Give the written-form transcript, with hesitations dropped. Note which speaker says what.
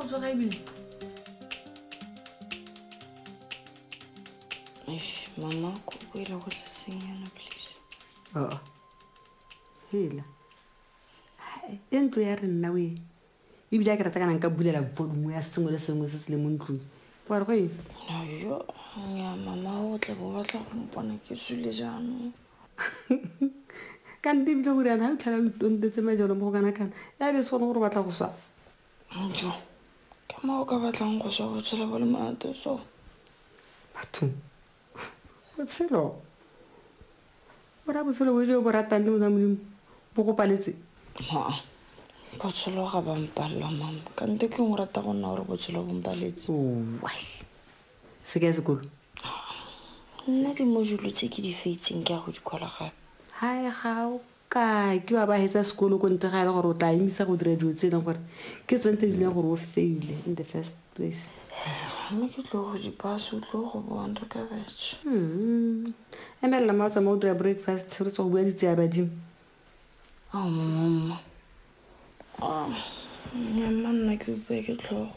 Speaker 1: tsoga ebile.
Speaker 2: Eish, mama ko boela go tlaseng yana please.
Speaker 3: Oo hela e ntlo ya re nna oe ebile a ke rata kana nka bulela volume ya sengwe le sengwe se se le mo ntlong wa re go eng.
Speaker 2: Yo ya mama o tla bo batla go mpona ke sule jaanong.
Speaker 3: Ka nte ebile gore yana ga o tlhela o itontetse majalo mo go kana-kana ya be se gone gore o batla go swa.
Speaker 2: Jo ke mo o ka batlang go swa botshelo bo le monate so.
Speaker 3: Bathong botshelo bo raya botshelo bo jo bo ratang le bona Modimo bo go paletse.
Speaker 2: Maa botshelo ga ba mpalela mama ka nte ke ngwe rata go nna gore botshelo bo mpaletse.
Speaker 3: Owai se ke ya sekolo.
Speaker 2: Nna di-module tse ke di feitseng ke ya go di kwala gape.
Speaker 3: Hae ga o ka ke wa ba hetsa sekolo ko ntle ga e le gore o tla emisa go dira dilo tse e leng gore ke tsone tse di leng gore o faile in the first place.
Speaker 2: Mme ke tlo go di pasa o tlo go bona re ka betšha.
Speaker 3: Emelela ma o tsamaya o dira breakfast re tswa go bua ditse ya badimo.
Speaker 2: Ao mama. Mama nna ke utlwa ke tlhogo.